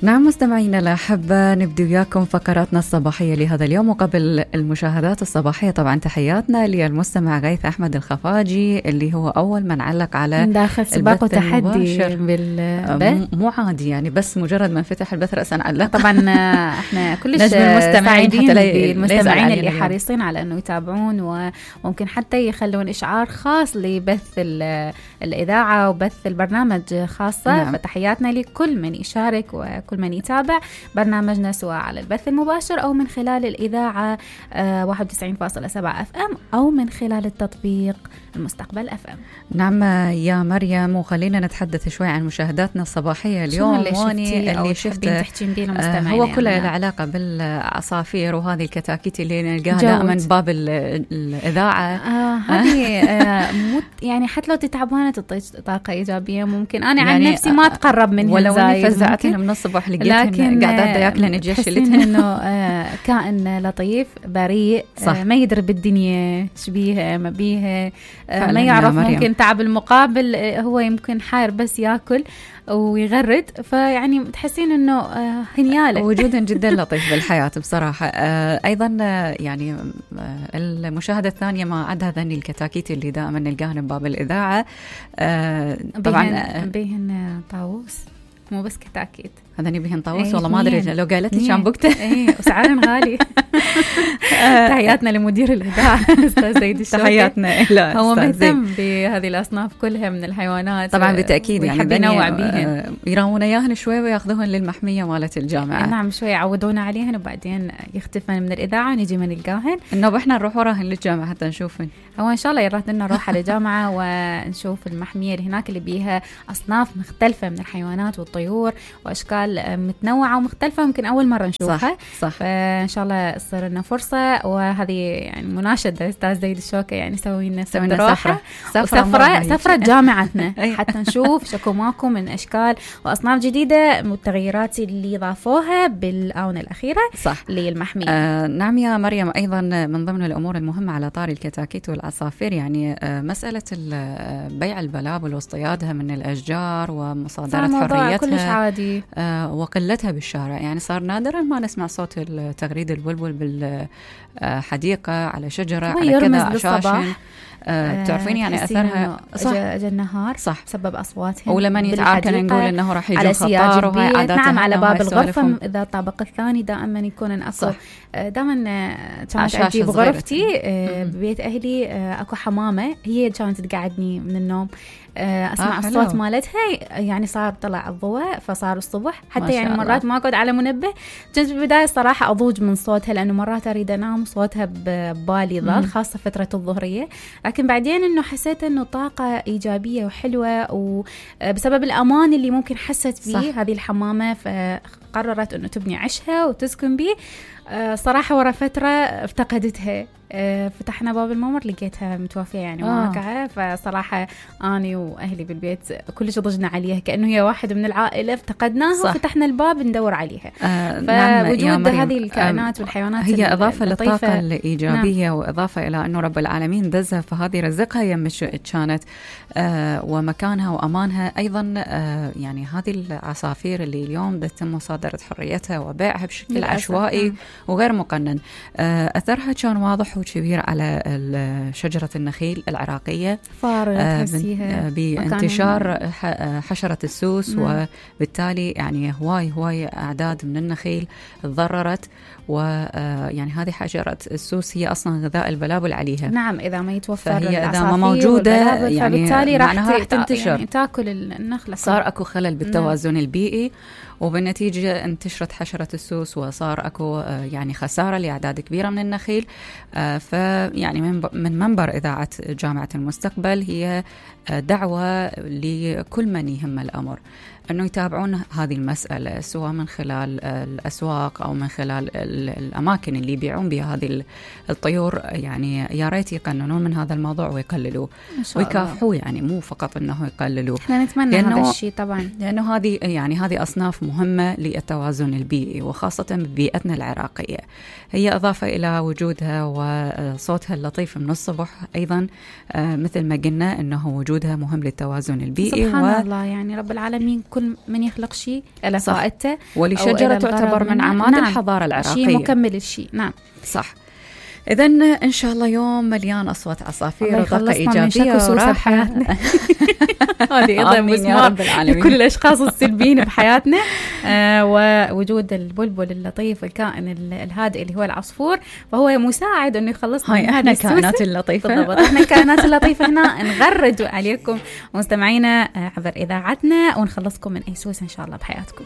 نعم مستمعينا الأحبة، نبدأ وياكم فقراتنا الصباحية لهذا اليوم. وقبل المشاهدات الصباحية طبعا تحياتنا للمستمع غيث أحمد الخفاجي اللي هو أول من علق على داخل سباق وتحدي بالبث. مو عادي يعني، بس مجرد ما فتح البث رأسا علق. طبعا احنا كلش سعيدين بالمستمعين اللي حريصين على أنه يتابعون وممكن حتى يخلون إشعار خاص لبث الإذاعة وبث البرنامج خاصة. نعم. فتحياتنا لكل من يشارك وكل من يتابع برنامجنا سواء على البث المباشر أو من خلال الإذاعة 91.7 FM أو من خلال التطبيق المستقبل FM. نعم يا مريم، وخلينا نتحدث شوي عن مشاهداتنا الصباحية اليوم. اللي شفته هو كله له علاقة بالعصافير وهذه الكتاكيت اللي نلقاها دائما باب الإذاعة. هذه يعني حتى لو تتعبانة تعطيك طاقة إيجابية. ممكن أنا يعني عن نفسي ما أتقرب منهم، ولو أني فزعتهم من الصبح لقيتهم قاعدة ياكلن الجشلتهم. إنه كائن لطيف بريء، ما يدري بالدنيا شبيها ما بيها، ما يعرف ممكن تعب المقابل، هو يمكن حاير بس ياكل ويغرد. فيعني تحسين انه هنياله وجودا جدا لطيف بالحياه بصراحه. ايضا يعني المشاهده الثانيه ما عدا هذني الكتاكيت اللي دائما نلقاهن بباب الاذاعه. طبعا بيهن طاووس، مو بس كتاكيت، هذني بيهن طاووس. والله ما ادري لو قالت لي كان بوقته. وسعرهم غالي. تحياتنا لمدير الإذاعة أستاذ زيد الشوكي. تحياتنا له، هو مهتم بهذه الأصناف كلها من الحيوانات طبعا بالتأكيد، يعني ينوع بيهن، يراونا إياهن شوي وياخذوهن للمحمية مالت الجامعة. نعم شوي يعودونا عليهن وبعدين يختفن من الإذاعة نجي ما نلقاهن. إنه إحنا نروح وراهن للجامعة حتى نشوفن. هو إن شاء الله يراد لنا نروح على الجامعة ونشوف المحمية اللي هناك اللي بيها أصناف مختلفة من الحيوانات والطيور وأشكال متنوعة ومختلفة، ممكن أول مرة نشوفها. صح. فإن شاء الله تصير لنا فرصة. وهذه يعني مناشدة أستاذ زيد الشوكي، يعني سوي لنا سفرة جامعتنا حتى نشوف شكو ماكو من أشكال وأصناف جديدة متغيرات اللي ضافوها بالآونة الأخيرة. صح. للمحمية. نعم يا مريم، أيضا من ضمن الأمور المهمة على طاري الكتاكيت والعصافير يعني مسألة بيع البلابل واصطيادها من الأشجار ومصادرة حريتها كلش عادي، وقلتها بالشارع. يعني صار نادرا ما نسمع صوت تغريد البلبل بالحديقة على شجرة على كذا عشاشن. تعرفين يعني أثرها جا النهار صح بسبب أصواتهم، ولما يتعار كان نقول إنه راح يجي خطار وهي عاداتها. نعم على باب الغرفة إذا الطابق الثاني دائما يكون أكو. دائما كانت أجيب غرفتي ببيت أهلي أكو حمامة، هي كانت تقعدني من النوم أسمع الصوت مالتها. يعني صار طلع الضوء فصار الصبح حتى يعني مرات ما أقعد على منبه. كنت بالبداية صراحة أضوج من صوتها لأنه مرات أريد أنام صوتها ببالي ظل، خاصة فترة الظهرية. لكن بعدين إنه حسيت إنه طاقة إيجابية وحلوة وبسبب الأمان اللي ممكن حست فيه هذه الحمامة، فقررت إنه تبني عشها وتسكن به. صراحة ورا فترة افتقدتها. فتحنا باب الممر لقيتها متوفية يعني واقعة. فصراحة أنا وأهلي بالبيت كلش ضجنا عليها كأنه هي واحد من العائلة، افتقدناها وفتحنا الباب ندور عليها. فوجود هذه الكائنات والحيوانات هي إضافة للطاقة الإيجابية. نعم. وإضافة إلى أنه رب العالمين دزها فهذه رزقها يم كانت ومكانها وأمانها أيضا. يعني هذه العصافير اللي اليوم تم مصادرة حريتها وبيعها بشكل عشوائي وغير مقنن، أثرها كان واضح وكبير على شجرة النخيل العراقية، بانتشار حشرة السوس. وبالتالي يعني هواي أعداد من النخيل تضررت. ويعني هذه حشرة السوس هي أصلا غذاء البلابل عليها. نعم إذا ما يتوفر فهي إذا ما موجودة يعني معناها راح تنتشر، يعني تاكل النخلة. صار أكو خلل بالتوازن البيئي، وبالنتيجة انتشرت حشرة السوس وصار أكو يعني خسارة لأعداد كبيرة من النخيل. فيعني من منبر إذاعة جامعة المستقبل هي دعوة لكل من يهم الأمر أنه يتابعون هذه المسألة، سواء من خلال الأسواق أو من خلال الأماكن اللي يبيعون بها هذه الطيور. يعني يا ريت يقننون من هذا الموضوع ويقللوه ويكافحوا، يعني مو فقط أنه يقللوه. احنا نتمنى هذا الشيء طبعا، لأنه هذه أصناف مهمة للتوازن البيئي، وخاصة ببيئتنا العراقية. هي إضافة إلى وجودها وصوتها اللطيف من الصبح أيضا، مثل ما قلنا أنه وجودها مهم للتوازن البيئي. سبحان الله، يعني رب العالمين كل من يخلق شيء له فائدته، ولشجرة تعتبر من أعماد الحضارة العراقية، شيء مكمل الشيء. نعم صح. إذن إن شاء الله يوم مليان أصوات عصافير وطاقة إيجابية وراحة. هذه أيضا مسمار لكل الأشخاص السلبيين بحياتنا. ووجود البلبل اللطيف والكائن الهادئ اللي هو العصفور، فهو مساعد إنه يخلصنا من هذه الكائنات اللطيفة. بالضبط، إحنا الكائنات اللطيفة هنا نغرد عليكم مستمعينا عبر إذاعتنا، ونخلصكم من أي سوس إن شاء الله بحياتكم.